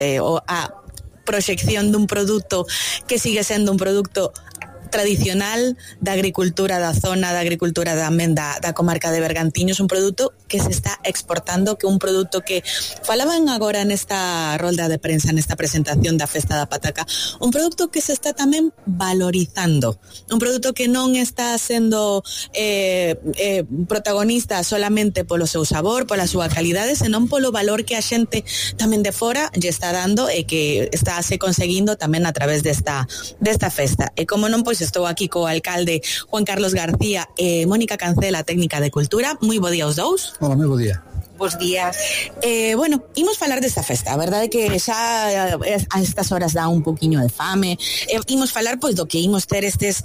a proxección dun produto que sigue sendo un produto tradicional da agricultura da zona, da agricultura tamén da comarca de Bergantiños, un produto que se está exportando, que un produto que falaban agora nesta rolda de prensa, nesta presentación da Festa da Pataca, un produto que se está tamén valorizando, un produto que non está sendo protagonista solamente polo seu sabor, pola súa calidade, senón polo valor que a xente tamén de fora lle está dando e que está se conseguindo tamén a través desta festa. E como non, pois estou aquí co alcalde Juan Carlos García e Mónica Cancela, técnica de cultura. Moi bo día aos dous. Hola, moi bo día. Bos días. Bueno, imos falar desta festa. A verdade é que xa a estas horas dá un poquinho de fame. Imos falar pois do que imos ter estes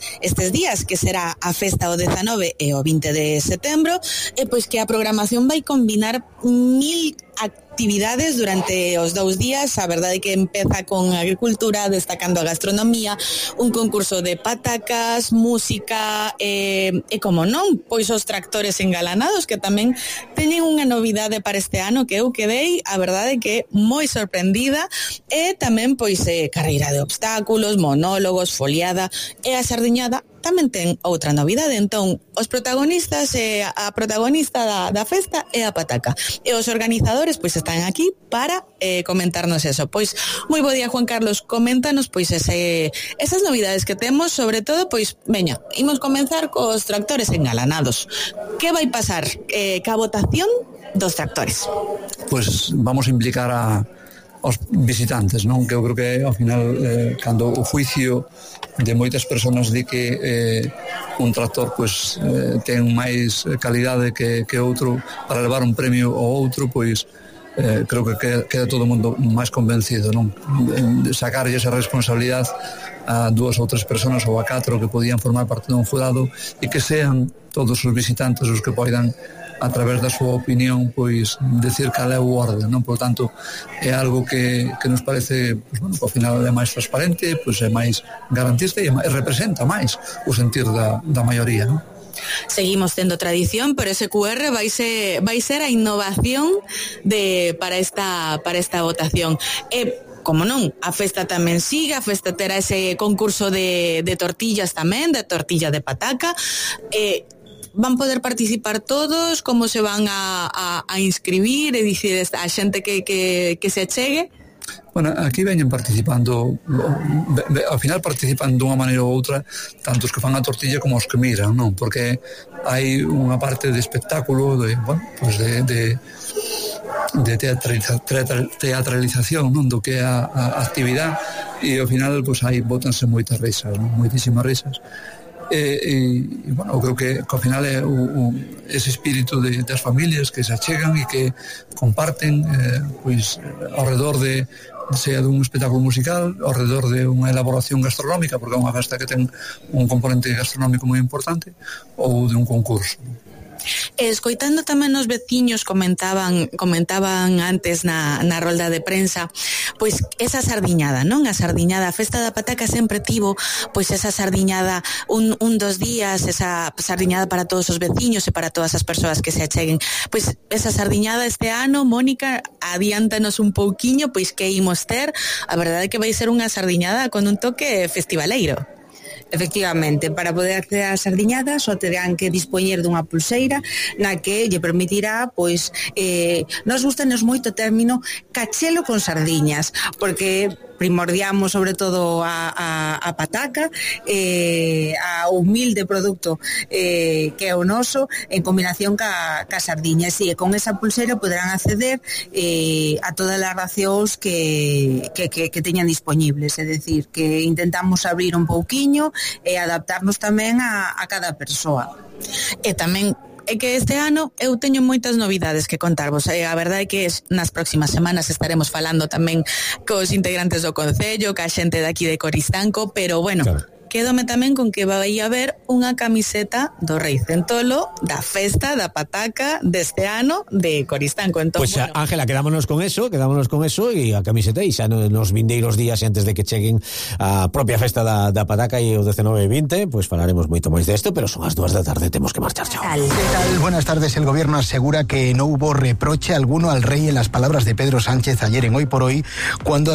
días, que será a festa o 19 e o 20 de setembro, e pois que a programación vai combinar 1000 actividades durante os 2 días. A verdade é que empeza con agricultura, destacando a gastronomía, un concurso de patacas, música e como non, pois os tractores engalanados, que tamén teñen unha novidade para este ano que eu quedei, a verdade é que moi sorprendida, e tamén pois carreira de obstáculos, monólogos, foliada, e a sardiñada tamén ten outra novidade. Entón, os protagonistas, a protagonista da festa é a pataca, e os organizadores pois están aquí para comentarnos eso. Pois, moi bo día, Juan Carlos, coméntanos pois esas novidades que temos, sobre todo, pois, veña, imos comenzar cos tractores engalanados. Que vai pasar ca votación dos tractores? Pois vamos a implicar aos visitantes, non? Que eu creo que ao final cando o juicio de moitas persoas di que un tractor pois ten máis calidade que outro para levar un premio ao outro, pois creo que queda todo o mundo máis convencido, non? Sacarlle esa responsabilidade a 2 ou 3 persoas ou a 4 que podían formar parte dun jurado, e que sean todos os visitantes os que poidan, a través da súa opinión, pois decir cal é o orden, non? Por tanto, é algo que nos parece, pois, bueno, ao final é máis transparente, pois é máis garantista e representa máis o sentir da maioría, non? Seguimos tendo tradición, pero ese QR vai ser a innovación para esta votación. Como non, a festa tamén sigue, a festa terá ese concurso de tortillas tamén, de tortilla de pataca. Van poder participar todos? Como se van a inscribir? É dicir, a xente que se achegue? Bueno, aquí veñen participando, ao final participan dunha maneira ou outra, tanto os que fan a tortilla como os que miran, non? Porque hai unha parte de espectáculo, de teatralización, non? Do que é a actividade, e ao final pois hai botanse moitas risas, non? Moitísimas risas. Bueno, eu creo que ao final é ese espírito das familias que se achegan e que comparten pois ao redor sea dun espectáculo musical, ao redor de unha elaboración gastronómica, porque é unha festa que ten un componente gastronómico moi importante, ou de un concurso. Escoitando tamén os veciños comentaban antes na rolda de prensa, pois esa sardiñada, non? A sardiñada, a festa da pataca sempre tivo pois esa sardiñada un 2 días, esa sardiñada para todos os veciños e para todas as persoas que se acheguen. Pois esa sardiñada este ano, Mónica, adiántanos un pouquiño, pois que imos ter. A verdade é que vai ser unha sardiñada con un toque festivaleiro. Efectivamente, para poder acceder á sardiñada só terán que dispoñer dunha pulseira na que lle permitirá, pois, nos gustanos moito o término cachelo con sardiñas, porque primordiamos sobre todo a pataca, a humilde produto que é o noso, en combinación ca sardiña. E con esa pulseira poderán acceder a todas as racións que teñan disponibles, é dicir, que intentamos abrir un pouquiño e adaptarnos tamén a cada persoa. E tamén é que este ano eu teño moitas novidades que contarvos. A verdade é que nas próximas semanas estaremos falando tamén cos integrantes do Concello, ca xente de aquí de Coristanco, pero bueno, claro, quedome tamén con que vai haber unha camiseta do Rei Centolo da festa da pataca deste ano de Coristanco. Entón, pues bueno, Ángela, quedámonos con eso e a camiseta e xa nos vindeiros días antes de que cheguen a propia festa da pataca e o 19 e 20, pues falaremos moito máis desto, pero son as 2 da tarde, temos que marchar. Chao. ¿Qué tal? Buenas tardes. El gobierno asegura que no hubo reproche alguno al rey en las palabras de Pedro Sánchez ayer en Hoy por Hoy, cuando